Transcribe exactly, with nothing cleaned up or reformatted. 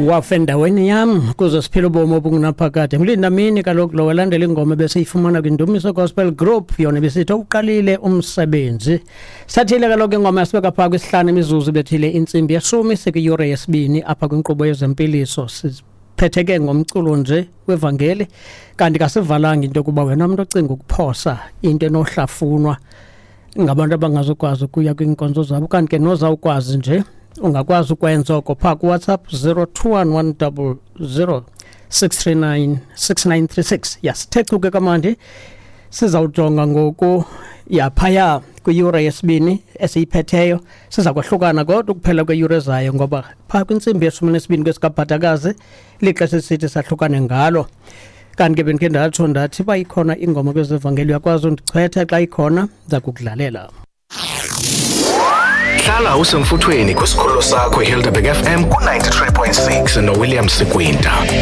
Wafa endaweni yam kuze siphile ubomi obungunaphakade. Mlinda mini kaloku lo walandela ingoma besiyifumana kwiNdumiso Gospel Group, yona besithi uqalile umsebenzi. Sathile kaloku ingoma yasibeka phaa kwisihlanu imizuzu bethile intsimbi yeshumi, sikwiyure yesibini apha kwinkqubo yezempiliso. Siphethe ke ngomculo nje wevangeli, kanti kasivalanga into yokuba wena mntu ocinga ukuphosa into enohlafunwa ngabantu abangazukwazi ukuya kwiinkonzo zabo, kanti ke nozawukwazi nje ungakwazi ukwenza oko phaa kuWhatsApp zero two one one double zero six three nine six nine three six. Yasithe chu ke kamandi, sizawujonga ngoku yaphaya kwiyure yesibini esiyiphetheyo. Siza kwahlukana kodwa ukuphela kweyure zayo, ngoba phaa kwintsimbi yeshumi nesibini kwesikabhatakazi lixesha esithi sahlukane ngalo. Kanti ke bendikhe ndatsho ndathi uba ikhona ingoma kwezevangeli uyakwazi undichwetha, xa ikhona ndiza kukudlalela. Hlala usemfuthweni kwisikhululo sakho iHelderberg F M ku ninety-three point six noWilliam Sikwinta.